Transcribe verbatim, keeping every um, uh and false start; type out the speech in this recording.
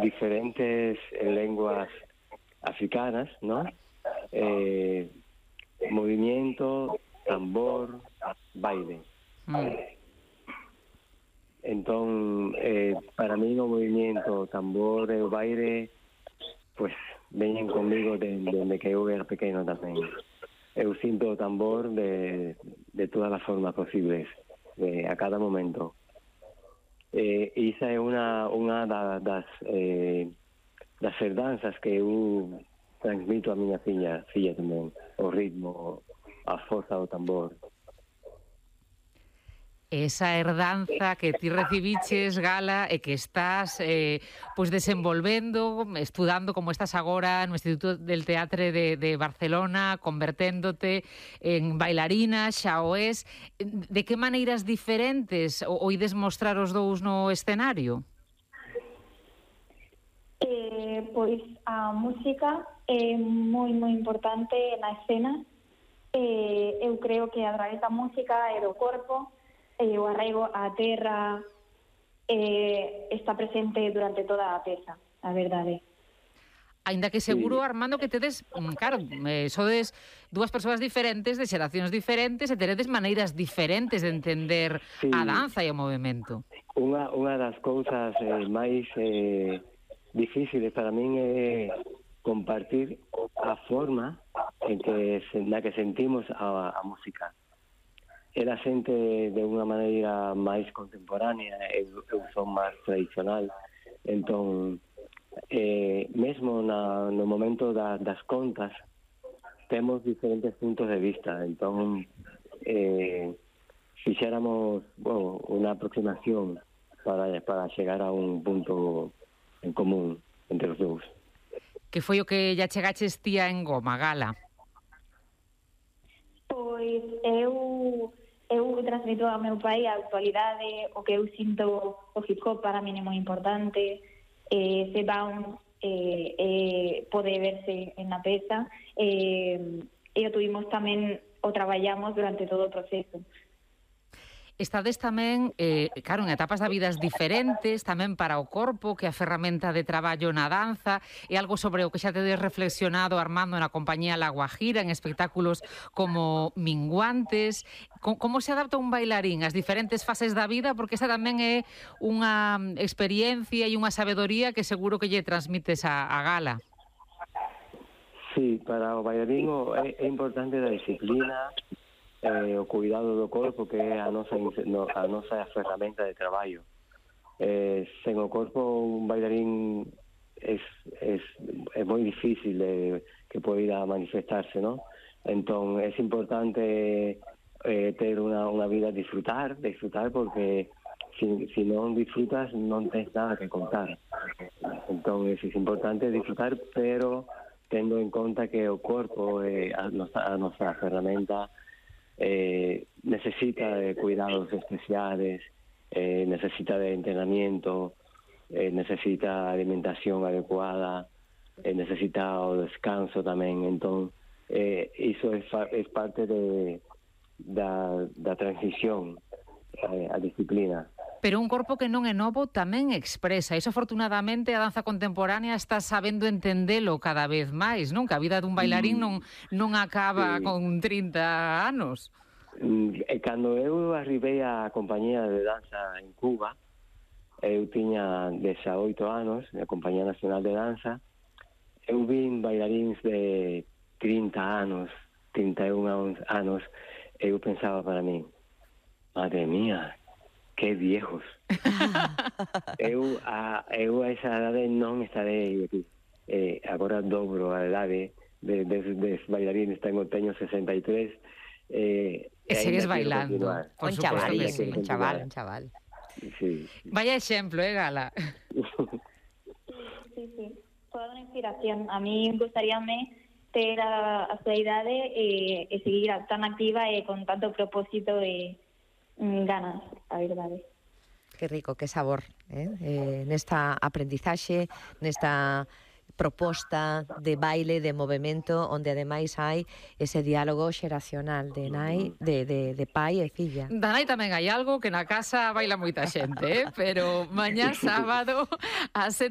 diferentes lenguas africanas, ¿no? Eh, movimiento, tambor, baile. Mm. Entón, eh, para mí o movimiento, tambor e o baile, pues, veñen conmigo desde que eu era pequeno tamén. Eu sinto o tambor de, de todas as formas posibles, de, a cada momento. Eh, esa é unha, unha da, das, eh, das herdanzas que eu transmito a miña filla, filla tamén, o ritmo, a forza do tambor. Esa herdanza que ti recibiches, Gala, e que estás eh, pois desenvolvendo, estudando como estás agora no Instituto del Teatre de, de Barcelona, converténdote en bailarina, xa o es. De que maneiras diferentes o, o ides mostrar os dous no escenario? Eh, pois a música é moi, moi importante na escena. Eh, eu creo que a través da música e do corpo e o arraigo á terra eh, está presente durante toda a peza, a verdade. Ainda que seguro, Armando, que tedes, claro, eh, sodes dúas persoas diferentes, de xeracións diferentes, e teredes maneiras diferentes de entender sí. a danza e o movimento. Unha, unha das cousas eh, máis eh, difíciles para min é compartir a forma en que, na que sentimos a, a música. Ela sente de unha maneira máis contemporánea, eu, eu son máis tradicional, entón, eh, mesmo na, no momento da, das contas, temos diferentes puntos de vista, entón, eh, fixéramos, bueno, unha aproximación para, para chegar a un punto en común entre os dous. Que foi o que ya chegaches tía en Goma, Gala? Pois eu... Eu transmito ao meu pai a actualidade, o que eu sinto, o hip hop para mí é moi importante, eh, se bounce, eh, eh, pode verse en na peza, eh, e o tuvimos tamén, o traballamos durante todo o proceso. Estades tamén, eh, claro, en etapas da vidas diferentes, tamén para o corpo, que a ferramenta de traballo na danza, é algo sobre o que xa tedes reflexionado, Armando, na compañía La Guajira, en espectáculos como Minguantes. Como, como se adapta un bailarín ás diferentes fases da vida? Porque esa tamén é unha experiencia e unha sabedoría que seguro que lle transmites a, a Gala. Sí, para o bailarín é, é importante a disciplina, Eh, o cuidado do corpo, que é a nosa, no, a nosa ferramenta de traballo. Eh, sen o corpo, un bailarín é es, es, es moi difícil de, que poida manifestarse, ¿no? Entón, é importante eh, ter unha, unha vida a disfrutar, disfrutar porque si, si non disfrutas non tens nada que contar. Entón, é, é importante disfrutar, pero tendo en conta que o corpo é a nosa, a nosa ferramenta. Eh, necesita de cuidados especiales, eh, necesita de entrenamiento, eh, necesita alimentación adecuada, eh, necesita o descanso tamén. Entón, eh, iso é, é parte de, da, da transición eh, a disciplina. Pero un corpo que non é novo tamén expresa. Iso, afortunadamente, a danza contemporánea está sabendo entendelo cada vez máis, non? Que a vida dun bailarín non, non acaba sí. con trinta anos. E cando eu arribei á compañía de danza en Cuba, eu tiña dezaoito anos, na Compañía Nacional de Danza, eu vin bailaríns de trinta anos, trinta e un anos, e eu pensaba para mí, madre mía, que viejos. eu, a, eu a esa edade non estarei aquí. Eh, agora dobro a edade de, de, de bailarines, tengo, teño sesenta e tres. Eh, e segues bailando. Un chaval, sí, un chaval, un chaval. Sí. Vaya exemplo, eh, Gala? Sí, sí, toda unha inspiración. A mí gustaríame ter a, a súa idade e, e seguir tan activa e con tanto propósito e mm, ganas, a verdade. Que rico, que sabor, eh? Eh, nesta aprendizaxe, nesta proposta de baile, de movimento, onde ademais hai ese diálogo xeracional de nai, de, de, de pai e filla. Da nai tamén hai algo que na casa baila moita xente, eh? Pero mañá sábado a sete